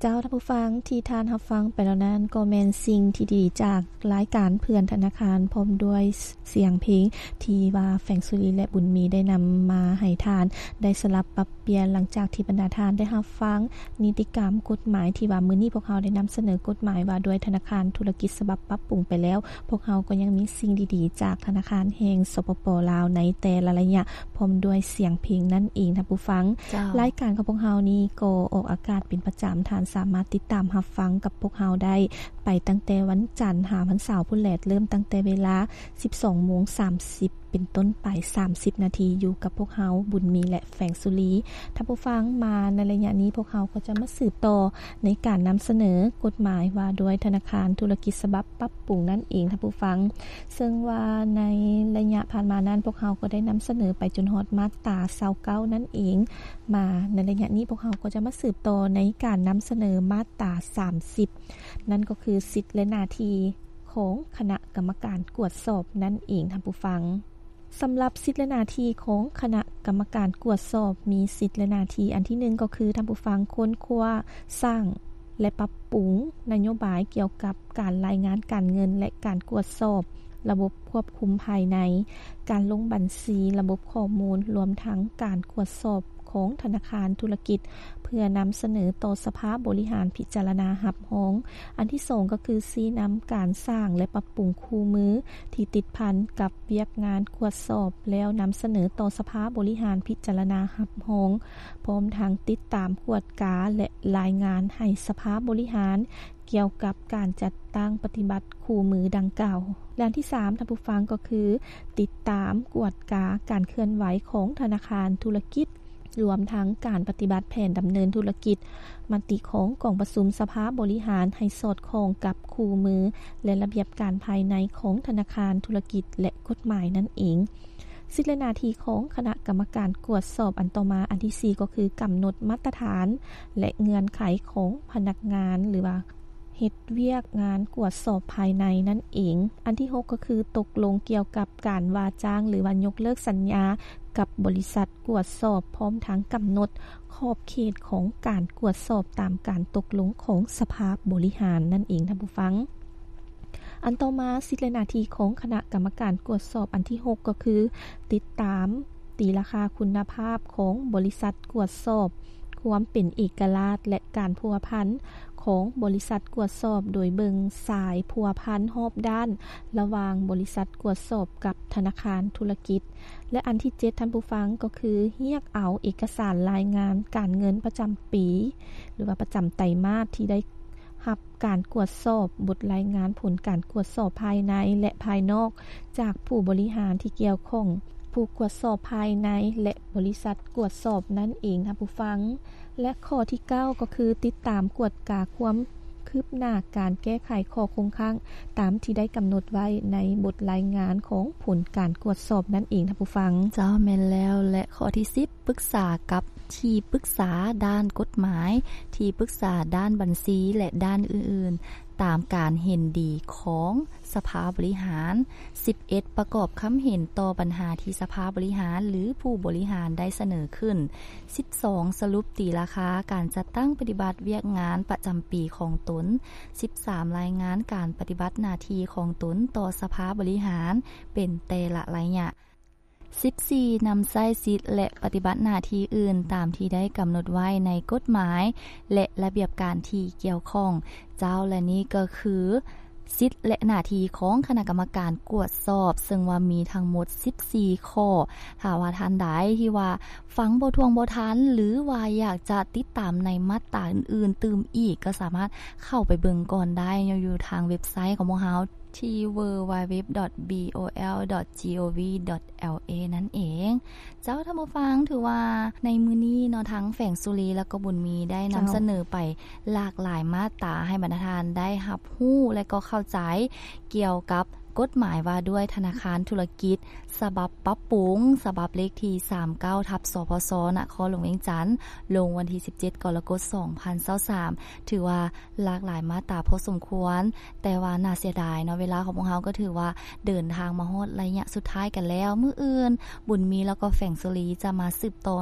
ເຈົ້າ ທ່ານຜູ້ຟັງ ທີ່ທ່ານຮັບຟັງໄປແລ້ວນັ້ນ ກໍແມ່ນສິ່ງທີ່ດີຈາກລາຍການເພື່ອນທະນາຄານ ພ້ອມດ້ວຍສຽງເພງ ທີ່ວ່າແຟງສຸລີ ແລະ ບຸນມີ ໄດ້ນຳມາໃຫ້ທ່ານໄດ້ສະຫຼັບປັບປ່ຽນ ຫຼັງຈາກທີ່ບັນດາທ່ານໄດ້ຮັບຟັງນິຕິກຳກົດໝາຍ ທີ່ວ່າມື້ນີ້ພວກເຮົາໄດ້ນຳສະເໜີກົດໝາຍວ່າດ້ວຍທະນາຄານທຸລະກິດສະບັບປັບປຸງໄປແລ້ວ. ພວກເຮົາກໍຍັງມີສິ່ງດີໆຈາກທະນາຄານແຫ່ງ ສປປ ລາວ ໃນແຕ່ລະໄລຍະ ພ້ອມດ້ວຍສຽງເພງນັ້ນເອງ ທ່ານຜູ້ຟັງ. ເຈົ້າ. ລາຍການຂອງພວກເຮົານີ້ກໍອອກອາກາດເປັນປະຈຳ, ທ່ານສາມາດຕິດຕາມຮັບຟັງກັບພວກເຮົາໄດ້ ໄປຕັ້ງແຕ່ວັນຈັນຫາວັນເສົາພຸ້ນແຫຼະ, ເລີ່ມຕັ້ງແຕ່ເວລາສິບສອງໂມງສາມສິບເປັນຕົ້ນໄປ ສາມສິບນາທີ ຢູ່ກັບພວກເຮົາ ບຸນມີ ແລະ ແຟງສຸລີ. ທ່ານຜູ້ຟັງ, ມາໃນໄລຍະນີ້ ພວກເຮົາກໍຈະມາສືບຕໍ່ໃນການນຳສະເໜີກົດໝາຍວ່າດ້ວຍທະນາຄານທຸລະກິດສະບັບປັບປຸງນັ້ນເອງ ທ່ານຜູ້ຟັງ. ເຊິ່ງວ່າໃນໄລຍະຜ່ານມານັ້ນ ພວກເຮົາກໍໄດ້ນຳສະເໜີໄປຈົນຮອດມາດຕາຊາວເກົ້ານັ້ນເອງ. ມາໃນໄລຍະນີ້ ພວກເຮົາກໍຈະມາສືບຕໍ່ໃນການນຳສະເໜີມາດຕາສາມສິບ ນັ້ນກໍຄືສິດ ແລະ ໜ້າທີ່ຂອງຄະນະກຳມະການກວດສອບນັ້ນເອງ ທ່ານຜູ້ຟັງ. ສຳລັບສິດ ແລະ ໜ້າທີ່ຂອງຄະນະກຳມະການກວດສອບ ມີສິດ ແລະ ໜ້າທີ່ ອັນທີໜຶ່ງ ກໍຄື ທ່ານຜູ້ຟັງ ຄົ້ນຄວ້າ, ສ້າງ ແລະ ປັບປຸງນະໂຍບາຍກ່ຽວກັບການລາຍງານການເງິນ ແລະ ການກວດສອບລະບົບຄວບຄຸມພາຍໃນ, ການລົງບັນຊີ, ລະບົບຂໍ້ມູນ, ລວມທັງການກວດສອບຂອງທະນາຄານທຸລະກິດ ເພື່ອນຳສະເໜີຕໍ່ສະພາບໍລິຫານພິຈາລະນາຮັບຮອງ. ອັນທີສອງ ກໍຄືຊີ້ນຳການສ້າງ ແລະ ປັບປຸງຄູ່ມືທີ່ຕິດພັນກັບວຽກງານກວດສອບ ແລ້ວນຳສະເໜີຕໍ່ສະພາບໍລິຫານພິຈາລະນາຮັບຮອງ, ພ້ອມທັງຕິດຕາມກວດກາ ແລະ ລາຍງານໃຫ້ສະພາບໍລິຫານ ກ່ຽວກັບການຈັດຕັ້ງປະຕິບັດຄູ່ມືດັ່ງກ່າວ. ແລະ ອັນທີສາມ ທ່ານຜູ້ຟັງ ກໍຄືຕິດຕາມກວດກາການເຄື່ອນໄຫວຂອງທະນາຄານທຸລະກິດ ລວມທັງການປະຕິບັດແຜນດຳເນີນທຸລະກິດ, ມະຕິຂອງກອງປະຊຸມສະພາບໍລິຫານໃຫ້ສອດຄ່ອງກັບຄູ່ມື ແລະ ລະບຽບການພາຍໃນຂອງທະນາຄານທຸລະກິດ ແລະ ກົດໝາຍນັ້ນເອງ. ສິດ ແລະ ໜ້າທີ່ຂອງຄະນະກຳມະການກວດສອບອັນຕໍ່ມາ ອັນທີສີ່ ກໍຄືກຳນົດມາດຕະຖານ ແລະ ເງື່ອນໄຂຂອງພະນັກງານ ຫຼືວ່າເຮັດວຽກງານກວດສອບພາຍໃນນັ້ນເອງ. ອັນທີຫົກ ກໍຄືຕົກລົງກ່ຽວກັບການວ່າຈ້າງ ຫຼືວ່າຍົກເລີກສັນຍາກັບບໍລິສັດກວດສອບ, ພ້ອມທັງກຳນົດຂອບເຂດຂອງການກວດສອບຕາມການຕົກລົງຂອງສະພາບໍລິຫານນັ້ນເອງ ທ່ານຜູ້ຟັງ. ອັນຕໍ່ມາ ສິດ ແລະ ໜ້າທີ່ຂອງຄະນະກຳມະການກວດສອບອັນທີຫົກ ກໍຄື ຕິດຕາມ, ຕີລາຄາຄຸນນະພາບຂອງບໍລິສັດກວດສອບ, ຄວາມເປັນເອກະລາດ ແລະ ການພົວພັນຂອງບໍລິສັດກວດສອບ ໂດຍເບິ່ງສາຍພົວພັນຮອບດ້ານລະຫວ່າງບໍລິສັດກວດສອບກັບທະນາຄານທຸລະກິດ. ແລະ ອັນທີເຈັດ ທ່ານຜູ້ຟັງ ກໍຄືຮຽກເອົາເອກະສານລາຍງານການເງິນປະຈຳປີ ຫຼືວ່າປະຈຳໄຕມາດທີ່ໄດ້ ຮັບການກວດສອບບົດລາຍງານຜົນການກວດສອບພາຍໃນ ແລະ ພາຍນອກ ຈາກຜູ້ບໍລິຫານທີ່ກ່ຽວຂ້ອງ, ຜູ້ກວດສອບພາຍໃນ ແລະ ບໍລິສັດກວດສອບນັ້ນເອງ ທ່ານຜູ້ຟັງ. ແລະ ຂໍ້ທີເກົ້າ ກໍຄືຕິດຕາມກວດກາຄວາມຄືບໜ້າການແກ້ໄຂຂໍ້ຄົງຄ້າງ ຕາມທີ່ໄດ້ກຳນົດໄວ້ໃນບົດລາຍງານຂອງຜົນການກວດສອບນັ້ນເອງ ທ່ານຜູ້ຟັງ. ເຈົ້າ, ແມ່ນແລ້ວ. ແລະ ຂໍ້ທີສິບ ປຶກສາກັບທີ່ປຶກສາດ້ານກົດໝາຍ, ທີ່ປຶກສາດ້ານບັນຊີ ແລະ ດ້ານອື່ນໆ ຕາມການເຫັນດີຂອງສະພາບໍລິຫານ. ສິບເອັດ ປະກອບຄຳເຫັນຕໍ່ບັນຫາທີ່ສະພາບໍລິຫານ ຫຼື ຜູ້ບໍລິຫານໄດ້ສະເໜີຂຶ້ນ. ສິບສອງ ສະຫຼຸບຕີລາຄາການຈັດຕັ້ງປະຕິບັດວຽກງານປະຈຳປີຂອງຕົນ. ສິບສາມ ລາຍງານການປະຕິບັດໜ້າທີ່ຂອງຕົນຕໍ່ສະພາບໍລິຫານເປັນແຕ່ລະໄລຍະ. ສິບສີ່ ນຳໃຊ້ສິດ ແລະ ປະຕິບັດໜ້າທີ່ອື່ນຕາມທີ່ໄດ້ກຳນົດໄວ້ໃນກົດໝາຍ ແລະ ລະບຽບການທີ່ກ່ຽວຂ້ອງ. ເຈົ້າ, ແລະ ນີ້ກໍຄືສິດ ແລະ ໜ້າທີ່ຂອງຄະນະກຳມະການກວດສອບ, ເຊິ່ງວ່າມີທັງໝົດສິບສີ່ຂໍ້. ຖ້າວ່າທ່ານໃດທີ່ວ່າຟັງບໍ່ຖ້ວງບໍ່ທັນ ຫຼື ວ່າຢາກຈະຕິດຕາມໃນມາດຕາອື່ນໆຕື່ມອີກ, ກໍສາມາດເຂົ້າໄປເບິ່ງກ່ອນໄດ້ ຢູ່ທາງເວັບໄຊຂອງພວກເຮົາ ທີ່ www.bol.gov.la ນັ້ນເອງ. ເຈົ້າ, ທ່ານຜູ້ຟັງ, ຖືວ່າໃນມື້ນີ້ເນາະ ທັງແຟງສຸລີ ແລະ ກໍບຸນມີ ໄດ້ນຳ ເຈົ້າ ສະເໜີໄປຫຼາກຫຼາຍມາດຕາ ໃຫ້ບັນດາທ່ານໄດ້ຮັບຮູ້ ແລະ ກໍເຂົ້າໃຈກ່ຽວກັບກົດໝາຍວ່າດ້ວຍທະນາຄານທຸລະກິດ ສະບັບປັບປຸງ ສະບັບເລກທີສາມເກົ້າ ທັບ ສພສ ນະຄອນຫຼວງວຽງຈັນ ລົງວັນທີສິບເຈັດ ກໍລະກົດ ສອງພັນຊາວສາມ. ຖືວ່າ ຫຼາກຫຼາຍມາດຕາພໍສົມຄວນ, ແຕ່ວ່າໜ້າເສຍດາຍເນາະ, ເວລາຂອງພວກເຮົາກໍຖືວ່າເດີນທາງມາຮອດໄລຍະສຸດທ້າຍກັນແລ້ວ. ມື້ອື່ນ ບຸນມີ ແລ້ວກໍແຟງສຸລີ ຈະມາສືບຕໍ່